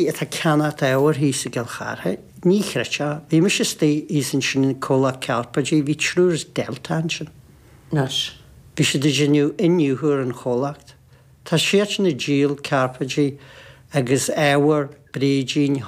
Atá ag ceannacht ábhair thíos i gCill Chartha. Ní chreidfeá. Bhí mise istigh thíos ansin i comhlacht cairpéidí, bhí triúr as Delta ansin. Anois. Bhí siad ag déanamh iniúchadh ar an chomhlacht. Tá siadsan ag díol cairpéidí agus ábhar, bréidín,